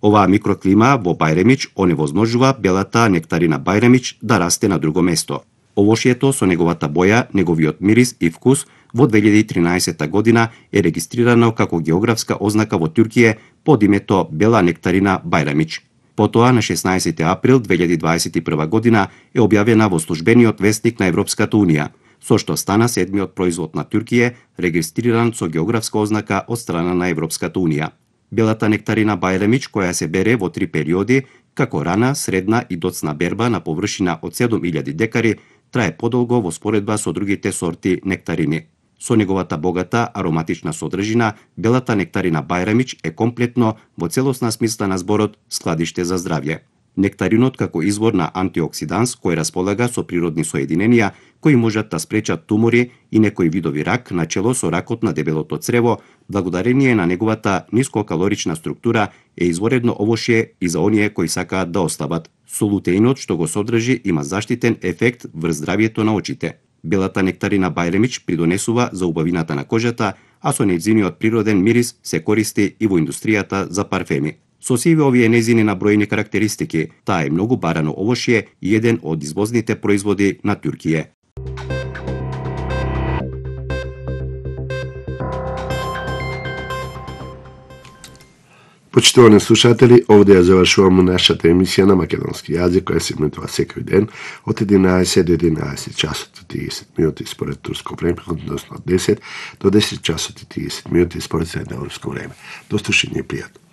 Оваа микроклима во Бајремич оневозможува белата нектарина Бајремич да расте на друго место. Овошјето со неговата боја, неговиот мирис и вкус во 2013 година е регистрирано како географска ознака во Туркија под името бела нектарина Бајрамич. Потоа на 16 април 2021 година е објавена во службениот вестник на Европската Унија, со што стана седмиот производ на Туркија регистриран со географска ознака од страна на Европската Унија. Белата нектарина Бајрамич, која се бере во 3 периоди, како рана, средна и доцна берба на површина од 7000 декари, трае подолго во споредба со другите сорти нектарини. Со неговата богата ароматична содржина, белата нектарина Бајрамич е комплетно во целосна смисла на зборот складиште за здравје. Нектаринот како извор на антиоксиданс кој располага со природни соединенија кои можат да спречат тумори и некои видови рак, начело со ракот на дебелото црево, благодарение на неговата нискокалорична структура е изворедно овошје и за оние кои сакаат да ослабат. Солутеинот што го содржи има заштитен ефект врз здравјето на очите. Белата нектарина Бајремич придонесува за убавината на кожата, а со нејзиниот природен мирис се користи и во индустријата за парфеми. Со сиве овие нејзини наброени карактеристики, таа е многу барано овошје и еден од извозните производи на Туркија. Почитувани слушатели, овде ја завршуваме нашата емисија на македонски јазик, која се емитува секој ден од 11 до 11 часот и 30 минути според турско време, односно од 10 до 10 часот и 30 минути според средноевропско време. До слушање и пријатно.